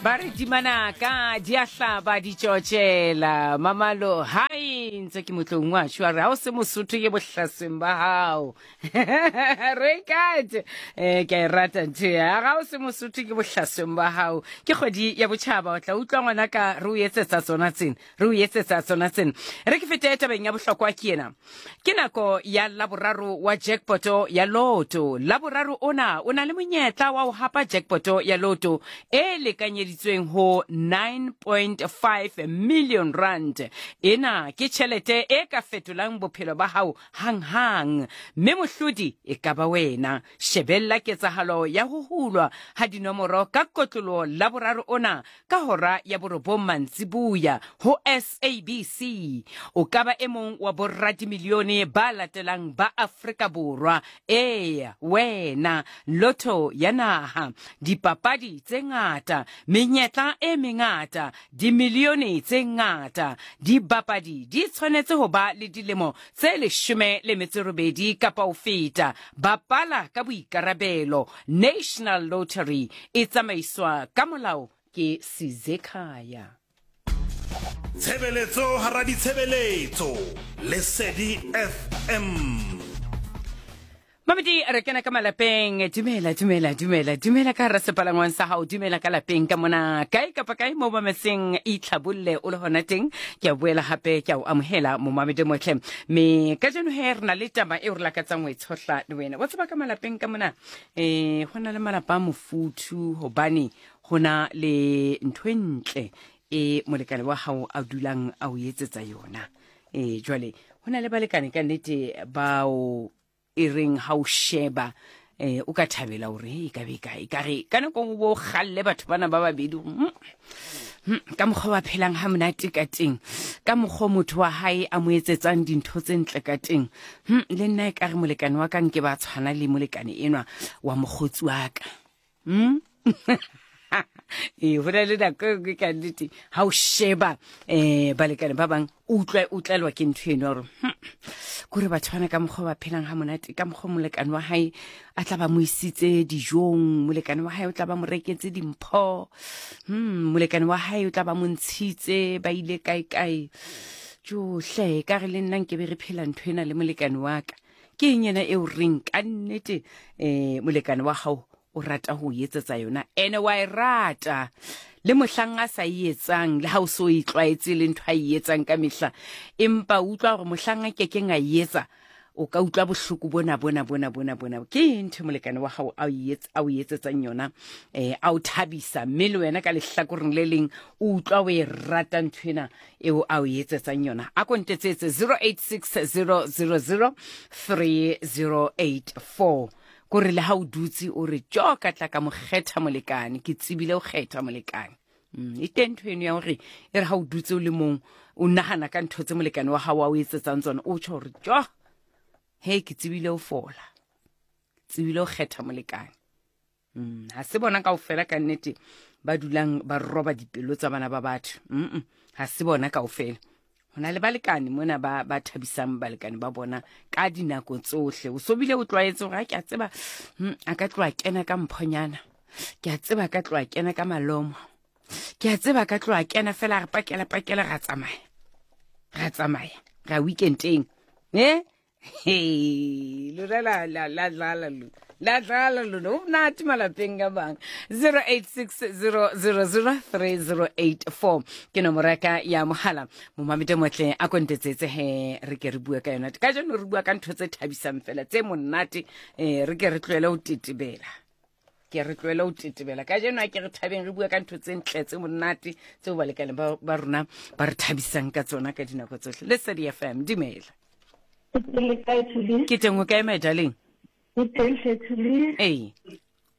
Ba re dimanaka di a hlaba di tšotšela mamalo hai ntse ke motlong wa shu a re ha o se mosotho ke bohlasweng ba hao re kate eh ke a e rata ntho ya ga o se mosotho ke bohlasweng ba hao ke kgwedi ya botšhaba o tla utlwa ngwana ka re o etsetsa tsona tsena re o etsetsa tsona tsena re ke fete tabeng ya bohlokwa ke ena ke nako ya laboraro wa jackpoto ya loto laboraro ona o na le monyetla wa ho hapa jackpoto ya loto e lekanyeditsweng ho 9.5 million rand ena ke tjhelete e ka fetolang bophelo ba hao hanghang mme mohlodi e ka ba wena shebella ketsahalo ya ho hulwa ha dinomoro ka kotloloho laboraro ona Ka hora ya borobong mantsibuya ho SABC, o ka ba e mong wa boradimilione ba latelang ba Afrika Borwa. Eya, wena, lotto ya naha, dipapadi tse ngata, menyetla e mengata, dimilione tse ngata. Dibapadi di tshwanetse ho ba le dilemo tse 18 kapa ho feta. Bapala ka boikarabelo. National Lottery e tsamaiswa ka molao ke Sizekhaya. Tshebeletso hara ditshebeletso, Lesedi FM. Mamedi re kena ka malapeng dumela dumela dumela dumela ka hara sepalangwang sa hao dumela ka lapeng ka mona kae kapa kae mo mametseng itlhabolle o le hona teng ke a boela hape ke a o amohela momamedi motle me kajeno he re na le taba eo re lakatsang ho e tshohla le wena wa tseba ka malapeng ka mona um go na le malapa a mofuthu gobane go na le ntho e ntle e molekane wa gago a dulang a o etsetsa yona um jwale go na le balekane ka nnete bao e reng ha o sheba eh o ka thabela hore e ka be kae ka re ka nako nngwe bo galle batho bana ba babedi ka mokgwa ba phelang ha monate ka teng ka mokgwa motho wa hae a mo etsetsang dintho tse ntle ka teng le nna e ka re molekane wa ka nke ba tshwana le molekane enwa wa mokgotsi wa ka ee go na le nako e nngwe ka nnete ga o sheba um balekane ba bangwe o utlwa o tlelwa ke ntho eno ya gore kore batho bana ka mokgwa ba phelang ga monate ka mokgwa molekane wa gae a tla ba mo isitse dijong molekane wa gae o tla ba mo reketse dimpho molekane wa gae o tla ba mo ntshitse ba ile kae-kae johle ka re le nna nke be re phela ntho ena le molekane wa ka ke eng ena eo reng ka nnete um molekane wa gago o rata ho etsetsa yona ene wa e rata le mohlang a sa e etsang le ha o so e tlwaetse le ntho a e etsang ka mehla empa utlwa gore mohlang a kekeng a e etsa o ka utlwa bohloko bona bona bona bona bona ke eng ntho molekane wa gago a o etsetsang yona um a o thabisa mme le wena ka lehlakoreng le leng o utlwa o e rata ntho ena eo a o etsetsang yona a kontetsetse 086 000 3084 Kore le ha o dutse o re jo ka tla ka mo kgetha molekane, ke tsebile o kgetha molekane. E teng ntho eno ya hore e re ha o dutse o le mong o nahana ka ntho tse molekane wa hao a o etsetsang tsona, o tjho hore jo he ke tsebile o fola, tsebile o kgetha molekane. Ha se bona kaofela ka nnete ba dulang ba roba dipelo tsa bana ba batho. Ha se bona kaofela. Ho na le balekane mona ba ba thabisang balekane ba bona ka dinako tsohle. O so bile o tlwaetse hore ha ke a tseba, a ka tloha kena ka mphonyana. Ke a tseba ka tloha kena ka malomo. Ke a tseba ka tloha kena fela re pakela pakela ra tsamaya. Ra tsamaya. Ra weekendeng. Eh? Hey, lona la la la dlala lona. La dlala lona. O monate malapeng a bang. 0860003084 ke nomoro ya ka ya mohala. Momamedi motle a kontetsetse he re ke re bue ka yona. Ka jeno re bua ka ntho tse thabisang fela tse monate eh re ke re tlohele ho tetebela. Ke re tlohele ho tetebela. Ka jeno a ke re thabeng re bua ka ntho tse ntle tse monate tseo balekane ba rona ba re thabisang ka tsona ka dinako tsohle. Lesedi FM, dumela. Ke teng o kae my darling? Ke teng hle Thuli. Ee.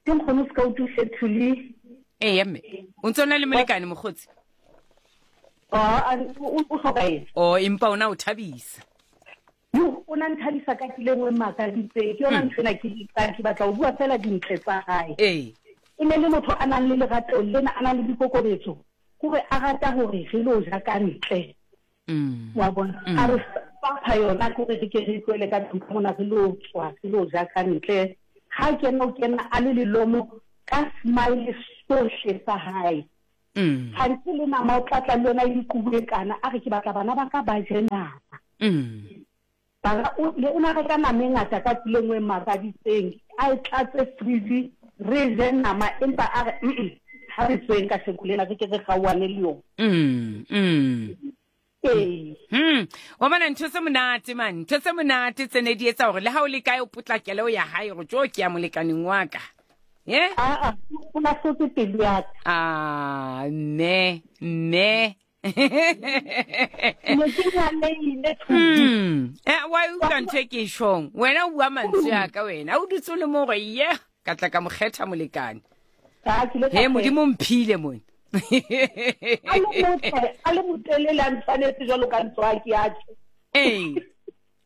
Ke nkgono se ka utlwe hle Thuli. Ee mme. O ntse o na le molekane mokgotsi? O hloka eng? O empa ona o thabisa. Yo, o na nthabisa ka tsela e nngwe e makaditseng. Ke yona ntho ena ke ke batla ho bua fela dintle tsa hae. Ee. E ne le motho a nang le lerato lena, a nang le boikokobetso. Kore a rata hore re lo ja ka ntle. Wa bona? A re fapha yona ke hore re ke re tlohele ka tlung ka mona re lo tswa, re lo ja ka ntle. Ha kena o kena a le lelomo ka smile sohle sa hae. Gantsi le nama o tla tla le yona e le kubu e kana, a re ke batla bana ba ka ba je nama. Bara o le o na reka nama e ngata ka tsela e nngwe e makaditseng, a e tlatse fridge re je nama empa a re mm ha re tsweng ka sheko lena re ke re kgaohane le yona. Ee. Wa bona ntho tse monate man, ntho tse monate tse ne di etsa gore le ha o le kae o potlakele o ya hae gore tjo ke ya molekaneng wa ka. Ye? Aa, o lahlotse pelo ya ka. Ah, mme, mme. Ne ke nyalehile Thubi. Wa e utlwa ntho e ke e tjhong? Wena o bua mantswe a ka wena. O dutse o le mo gore ye, ka tla ka mo kgetha molekane. Ah, ke ile ka He, kgetha. Modimo mphile mone. A le motle, a le motelele, a ntshwanetse jwalo ka ntswaki ya tjhe. Ee.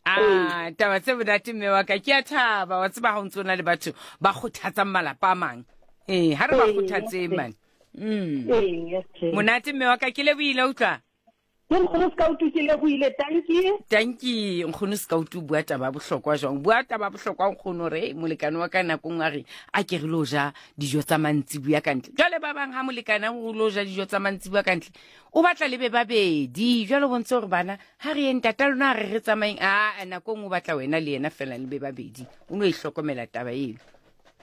Ah, taba tse monate mme wa ka, ke a thaba. Wa tseba ha o ntso na le batho ba kgothatsang malapa a mang. Ee, ha re ba Ee, kgothatseng ee. man. Ee, okay. Monate mme wa ka, ke lebohile utlwa. Ke nkgono Scout ke lebohile, tanki. Tanki, nkgono Scout o bua taba ya bohlokwa jwang? Bua taba ya bohlokwa nkgono re molekane wa ka nako nngwe a re a ke re lo ja dijo tsa mantsibuya ka ntle. Jwale ba bang ha molekane a re o lo ja dijo tsa mantsibuya ka ntle, o batla le be babedi. Jwale o bontshe hore bana ha re yeng ntata lona a re re tsamayeng, a nako nngwe o batla wena le yena fela le be babedi. O no e hlokomela taba eno.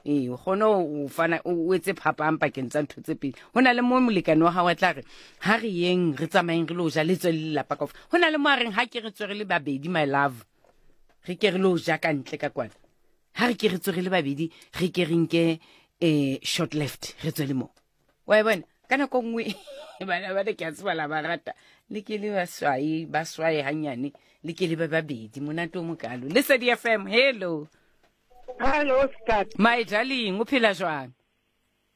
Ee, o kgone ho fana, o etse phapang pakeng tsa ntho tse pedi. Ho na le mo molekane wa hao a tla re, ha re yeng, re tsamayeng re lo ja, le tswe le lelapa kaofela. Ho na le mo a reng, ha ke re tswe re le babedi, my love, re ke re lo ja ka ntle ka kwana. Ha re ke re tswe re le babedi, re ke re nke, short left, re tswe le mo. Wa e bona? Ka nako nngwe, bana ba ke a tseba la ba rata, le ke le ba swae, ba swae hanyane, le ke le ba babedi, monate o mokalo. Lesedi FM, hello. Hello, Skat. My darling, o phela jwang?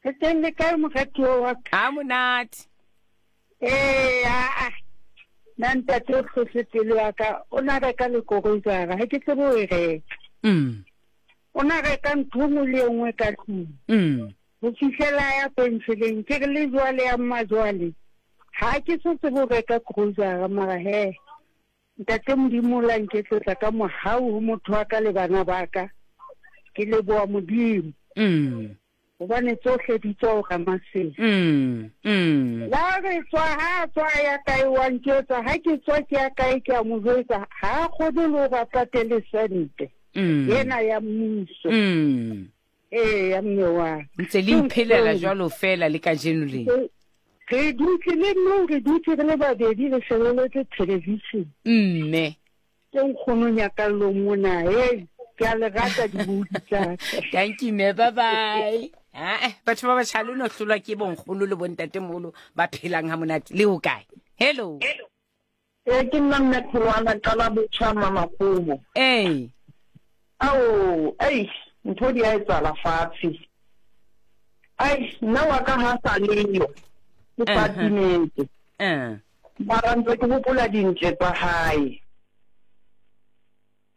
Ke teng le kae moratuwa wa ka? A monate. Ee, a, a. Nna ntate o tlose pelo ya ka, o na reka le koroisara, ha ke tsebe ho e reka. O na reka ntho e nngwe le e nngwe ka tlung. Ho fihlela ya penseleng, ke re le jwale ya mmajwale, ha ke so tsebe ho reka grocery, mara he. Ntate Modimo o la nketsetsa ka mohau ho motho wa ka le bana ba ka. Ke leboha Modimo. Hobane tsohle di tswa ho Ramasedi. La re tswa, ha a tswa a ya kae wa nketsa, ha ke tswa ke ya kae ke a mo jwetsa, ha a kgone le hore a patele sente. Ena ya mmuso. Ee, ya mme wa ka. Ntse le iphelela jwalo fela le kajeno le. Re dutse le nna, re dutse re le babedi re shebeletse television. Mme. Ke nkgono Nyakallo mona, hey, ke a le rata dibodi tsa ka. Thank you, mme, bye bye. Ah, batho ba batjha le no hlolwa ke bonkgono le bontatemoholo ba phelang ha monate. Le ho kae? Hello. Ee, ke nna mme Kgolwana, qala botjha Mmamakgomo. Ee. Ao, eish, ntho di a etsahala fatshe. Ai, nna wa ka ha sa leyo, ke sa timetse. Mara ntse ke hopola dintle tsa hae.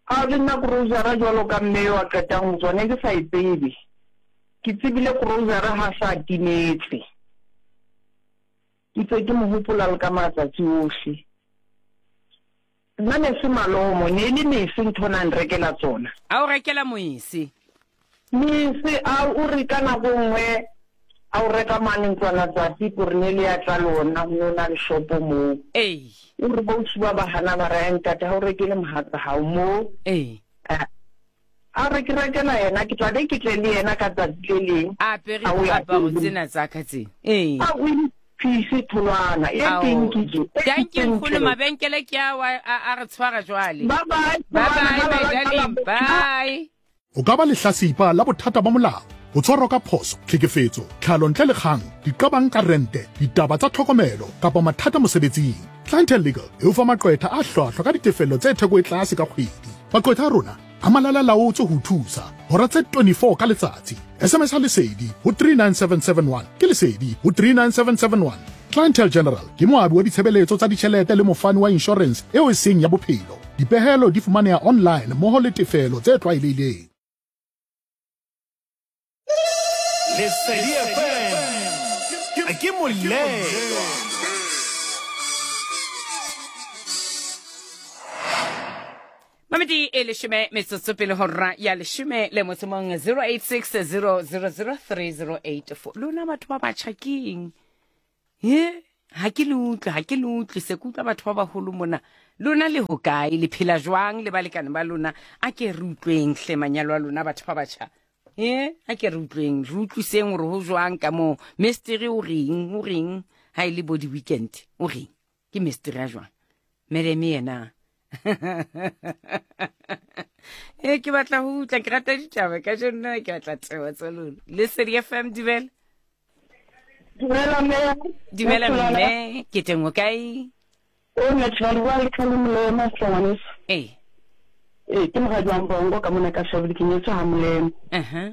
Ao, le nna grocery jwalo ka mme yo a qetang ho tswa, ne ke sa e tsebe. Ke tsebile grocery ha sa timetse. Ke ntse ke mo hopola le ka matsatsi ohle. Nna ne se malomo, ne e le mese ntho na nrekela tsona. A o rekela moese? Mese, a o re ka nako e nngwe a o reka mane ntlwana tsatsi kore ne le ya tla lona, ho no na le shopo moo. Ee. O re bo ausi ba ba hana ba re, Ai ntate, ha o rekele mohatsa hao moo. Ee. A re ke rekela yena, ke tla be ke tle le yena ka tsatsi le leng. A apere A o ya diaparo pele. tsena tsa ka tse. Ee. A o iphise tholwana e Ao. teng ke je. E Thank you, teng nkgono, tjhelete. mabenkele ke a wa, a, a re tshwara jwale. Bye bye, Bye tholwana, bye, ba my ba ba darling. ba. Bye. O ka ba lehlasipa la bothata ba molao, ho tshwarwa ka phoso, tlhekefetso, tlhalo ntle le kgang, diqabang ka rente, ditaba tsa tlhokomelo kapa mathata mosebetsing. Clientele Legal e o fa maqwetha a hlwahlwa ka ditefello tse theko e tlase ka kgwedi. Maqwetha a rona a malala laotswe ho thusa hora tse 24 ka letsatsi. SMS ha Lesedi ho 39771 ke Lesedi ho 39771. Clientele General ke moabi wa ditshebeletso tsa ditjhelete le mofani wa insurance eo e seng ya bophelo. Dipehelo di fumaneha online mmoho le tefelo tse tlwaelehileng. Lesedi FM ke molelo. Mamedi e leshome metsotso pele ho hora ya leshome le motso mong, 086 000 3084. Lona batho ba batjha keng? He, ha ke le utlwe, ha ke le utlwe, se ke utlwa batho ba baholo mona. Lona le hokae, le phela jwang le balekane ba lona? A ke re utlweng hle manyalo a lona batho ba batjha. He, a ke re utlweng, re utlwiseng hore ho jwang ka moo. Mesteri o reng, o reng ha e le bo di-weekend, o reng? Ke mesteri a jwang? Madam yena. E ke batla ho utlwa, ke rata ditaba ka jeno, ke batla tsebo tsa lona. Lesedi FM, dumela. Dumela mme. Dumela mme, ke teng o kae? O nna tshwana bua le tlhalo molema hle ngwaneso. Ee. Ee, ke moradi wa Mbongo ka mona ka Shabele ke nyetswe ha Molema. Uh-huh.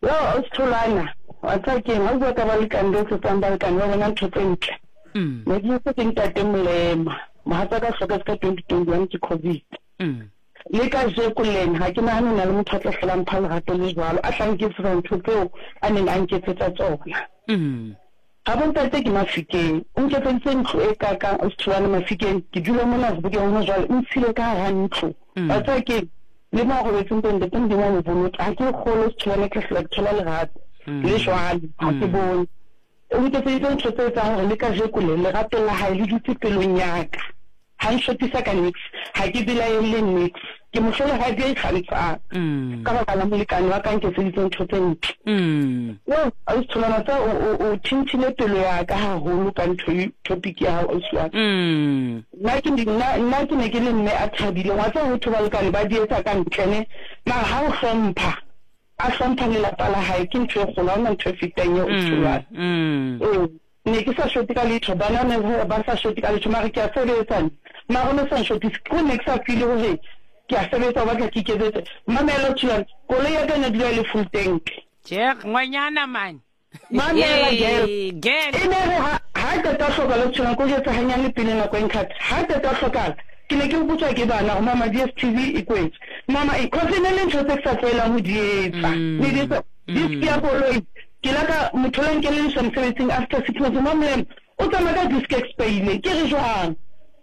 Yo, o Tholwana, wa tseba keng, ha o bua ka balekane ba etsetsang balekane ba bona ntho tse ntle. Ne ke nyetswe ke ntate Molema, mohatsaka o hlokahetse ka 2021 ke Covid. Le kajeko lena ha ke nahane ho na le motho a tla hlola a mpha lerato le jwalo, a tla nketsetsa ntho tseo a neng a nketsetsa tsona. Habo ntate ke Mafikeng, o nketseditse ntlo e kakang Ausi-Tholwana Mafikeng, ke dula mona Sebokeng hona jwale, o ntshile ka hara ntlo. Wa tseba keng, le mo a robetseng teng ntate Modimo a mo boloke, ha ke kgolwe Ausi-Tholwana ke tla hlola ke thola lerato le jwalo, ha ke bone. O nketseditse ntho tse etsang hore le kajeko le, lerato la hae le dutse pelong ya ka. Ha nshotisa ka niks, ha ke belaelle niks. Ke mohlolohadi ya ikgantshang ka baka la molekane wa ka a nketseditseng ntho tse ntle. Yoh, ausi Tholwana, tsa o, o, o thinthile pelo ya ka haholo ka ntho e, topic ya hao ausi wa ka. Nna ke, nna, nna ke ne ke le mme a thabileng. Wa tseba ho thwe balekane ba di etsa ka ntle ne, mara ha o hlompha, a hlompha lelapa la hae ke ntho e kgolo, ha hona ntho e fetang eo ausi Tholwana. Ee. Ne ke sa shote ka letho, bana ne ba sa shote ka letho, mare ke a sebetsa ne. Mara o ne sa nshotise, ke hore ne ke sa feel-e hore ke a sebetsa, o batla ke iketsetse. Mamela Thulane, koloi ya ka e ne dula e le full tank. Tjhe, ngwanyana man. Mamela girl. Girl. E ne re ha ha qeta ho hlokahala Thulane, ke o jwetse hanyane pele nako e nkhatha. Ha qeta ho hlokahala, ke ne ke hopotswa ke bana hore mama DSTV e kwetswe. Mama eng, cause e ne le ntho tse ke sa tlwaelang ho di etsa. Ne di etsa disc ya koloi. Ke la ka mo thola nkelelliswa mosebetsing after 6 months Mamlem o tsamaya ka disc expaile ke re jwang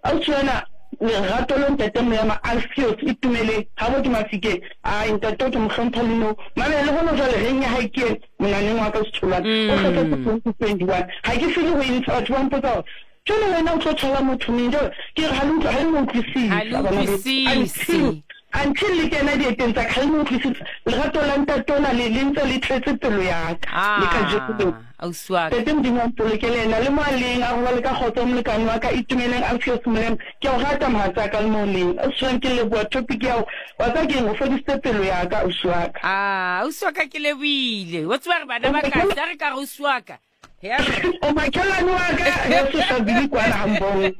ausi wena lerato lo ntate Molema Alfios Itumeleng habo ke Mafikeng ai ntate o ke mo hlompha le nou mamela le hona jwale reng ya hae ke ena monaneng wa ka Setholwana o hloketse 2021 ha ke fele ho e ntsha batho ba mpotsa hore Jwale wena o tlo thola motho neng? Jwale ke re ha le utlwe, ha le mo utlwisisa bana beso. Until, until le kena dieteng tsa ka, ha le mo utlwisisa. Lerato la ntate ona le, le ntse le tletse pelo ya ka, le kajeko lena. Ausi wa ka. Ntate Modimo a mpolokele yena, le mo a leng, a robale ka kgotso molekane wa ka, Itumeleng Alfios Molema. Ke a o rata mohatsaka le mo o leng. Ausi wa ke leboha topic ya hao. Wa tseba keng, o fodisitse pelo ya ka ausi wa ka. Ah, ausi wa ka ke lebohile. Wa tseba re bana ba ka, a re ka re ausi wa ka. O makhelwane wa ka heso Shabili kwana Hambong.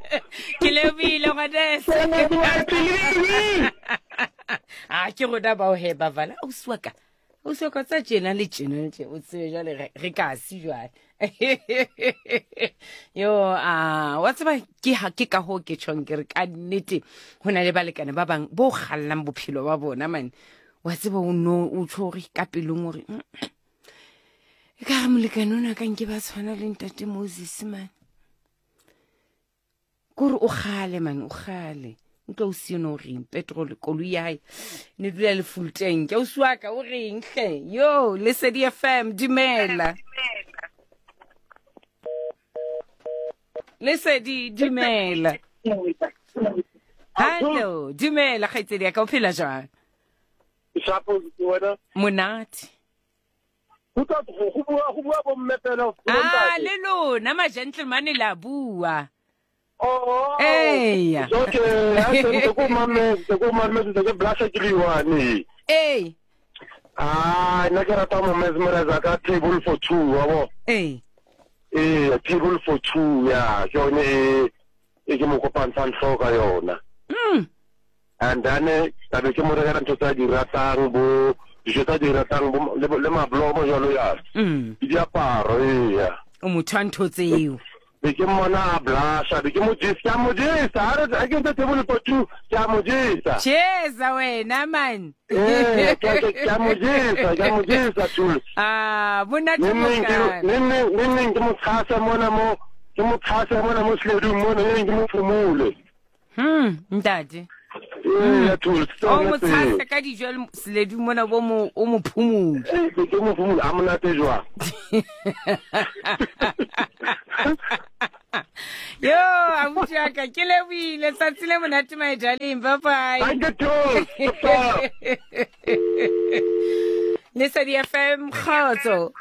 Ke lebile ngwaneso. A ke rona bao he ba vala ausi wa ka. Ausi wa ka tsa tjena le tjena le tjena o tsebe jwale re ka se jwale. Yo a wa tseba ke ha ke ka ho ke tjhong ke re ka nnete ho na le balekane ba bang bo kgallang bophelo ba bona man. Wa tseba o no o tjho hore ka pelong hore e ka re molekane o na ka nke ba tshwana le ntate moses mane kore o gale mane o gale utlwa o sione o reng petrol koloi ya gae ne dula le full tank o siwaka o reng hle yo lesedi fm dumela lesedi dumela hallo dumela kgaitsedi ya ka o phela jwang monate Go tla go go bua go bua bomme fela go Ah, bontate. le lona ma gentleman la bua. Oh. Eya. Okay, ha se ntse ko mametse, ko mametse ke blasha ke le one. Ee. Ah, nna ke rata mo mesmerize ka table for two, wa bo. Ee. Ee, table for two ya, ke yone e e ke mo kopantshang hlooho ka yona. And then ka be ke mo rekela ntho tse a di ratang, bo dijo tse a di ratang, bo le, le mablomo jalo jalo. Le diaparo, eya. O motho wa ntho tseo. Be ke mmona a blasha, be ke mo jesa, ke a mo jesa. Ha re, ha ke ntse table for two, ke a mo jesa. Jesa wena man. Ee, ke, ke, ke a mo jesa, ke a mo jesa, Jules. Ah, monate Neng neng ke, mokana. neng neng, neng neng ke mo tshase mona mo, ke mo tshase mona mo seledung mona, neng neng ke mo phumule. Ntate. Ee, Jules, ke O tsona mo tseo. tshase ka dijo le seledu mona bo mo o mo phumule. Ee, ke mo phumule, a monate jwang. Morati wa ka ke leboile tsatsi le monate my darling. Bye bye. Thank you too. Lesedi FM kgotso.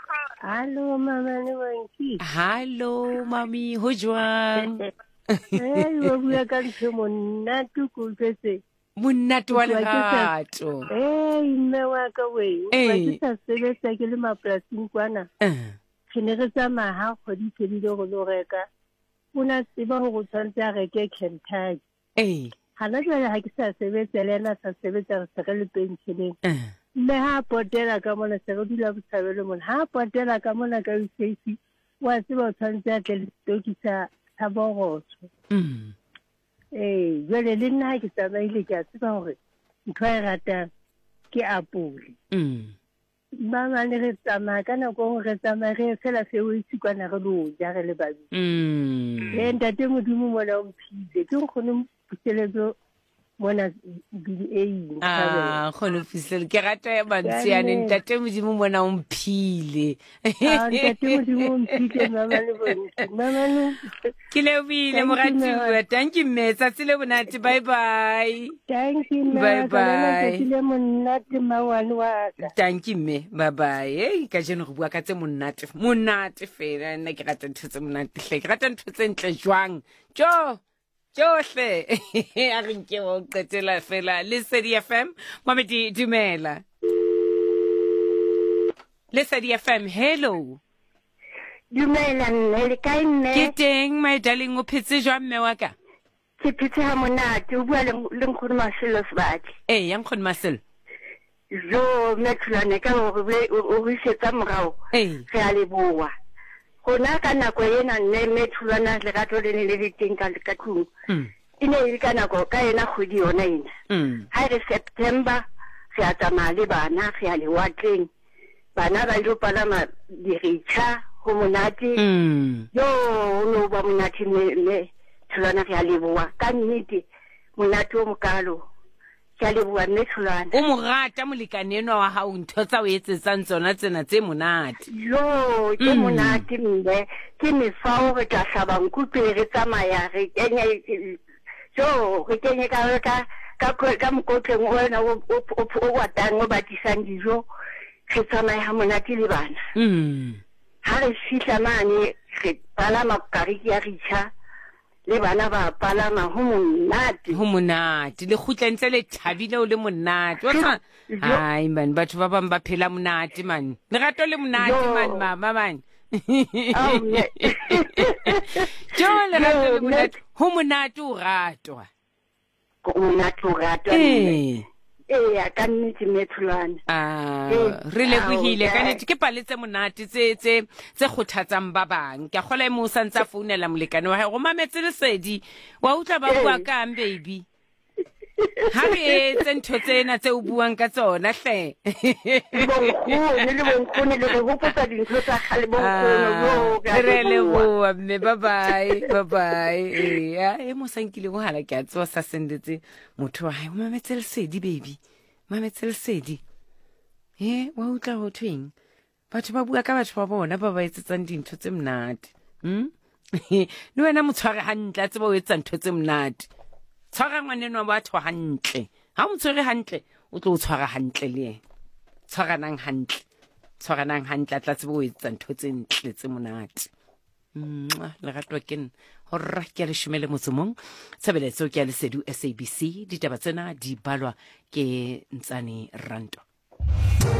Hallo mama le bonki. Hallo mami, ho jwang? Eh, wa bua ka ntho monate ko utlwetse. Monate wa lerato. Eh, mme wa ka we. Wa ke sa sebetsa ke le mapolasing kwana. Eh. Re ne re tsamaya ha kgwedi e fedile go lo reka. O na tseba gore o tshwanetse a reke Kentucky. Ee. Hana jwale ha ke sa sebetsa le ena sa sebetsa re se re le pensioneng. Eh. Mme ha a potela ka mona se re dula botshabelo mona. Ha a potela ka mona ka UCC wa tseba o tshwanetse a tle le setoki sa sa borotho. Ee, jwale le nna ha ke tsamaile ke a tseba hore ntho a e ratang ke apole. Ba bang re tsamaya ka nako nngwe re tsamaya re ye fela Fairways kwana re lo ja re le babedi. Ee, ntate Modimo mona o mphile ke nkgono Puseletso mona BA. Ah, nkgono Puseletso ke rata mantswe yane ntate Modimo mona o mphile. Ah, ntate Modimo o mphile mama le bonke. Mama le Ke lebohile moratuwa. Thank you mme. Tsatsi le monate. Bye bye. Thank you mme. Bye bye. Tsatsi le monate mmawane wa ka. Thank you mme. Bye bye. Hey, kajeno re bua ka tse monate. Monate fela. Nna ke rata ntho tse monate hle. Ke rata ntho tse ntle jwang. Jo. Tšohle. A re nke o qetela fela. Lesedi FM. Mamedi dumela. Lesedi FM. Hello. Dumela mme, le kae mme? Ke teng my darling, o phetse jwang mme wa ka? Ke phetse ha monate, o bua le le nkgono Maselo Sebati. Ee, ya nkgono Maselo. Jo, mme Thulane ka hore o re isetsa morao. Ee. Re a leboha. Rona ka nako ena mme mme Thulwana lerato le ne le le teng ka ka tlung. E ne e le ka nako ka ena kgwedi yona ena. Ha e re September re a tsamaya le bana re ya lewatleng. Bana ba ilo palama diritjha, ho monate. Jo, ho no ba monate mme, mme Tholwana re a leboha. Ka nnete, monate o mokalo. Ke a leboha mme Tholwana. O mo rata molekane enwa wa hao, ntho tsa o etsetsang tsona tsena tse monate. Jo, ke monate mme. Ke mefao re tla hlaba nku pele re tsamaya, re kenye, jo, re kenye ka, ka, ka, ka mokotleng ona o, o, o, o batang, o batisang dijo. Re tsamaye ha monate le bana. Ha re fihla mane, re palama kariki ya ritjha, le bana ba palama, ho monate. Ho monate. Le kgutla ntse le thabile o le monate. Wa tseba, hai man, batho ba bang ba phela monate man. Lerato le monate man, mama man. Jo, lerato le monate. Ho monate o ratwa. Ho monate o ratwa. Ee. Eya, ka nnete mme Tholwana. Ah, re lebohile ka nnete ke pale tse monate tse tse tse kgothatsang ba bang. Ke a kgola e mong o sa ntse a founela molekane wa hae go mametse lesedi. Wa utlwa ba bua kang baby? Ha re etse ntho tsena tse o buang ka tsona hle. Le bonkgono, le bonkgono le re hopotsa dintho tsa kgale bonkgono. Ah, re leboha mme bye bye bye bye. Eya, e mo sa nkile mohala ke a tseba sa sendetse motho wa hae o mametse lesedi baby mametse lesedi he wa utlwa ho thweng batho ba bua ka batho ba bona ba ba etsetsang dintho tse monate le wena mo tshware hantle a tseba o etsa ntho tse monate tshwara ngwaneno wa batho hantle ha o mo tshwere hantle o tlo o tshwara hantle le yena tshwaranang hantle tshwaranang hantle a tla tseba o etsa ntho tse ntle tse monate Mwah, lerato ke nna horra ke ya leshome le motso mong tshebeletso ke ya lesedu sabc ditaba tsena di balwa ke ntsane ranto.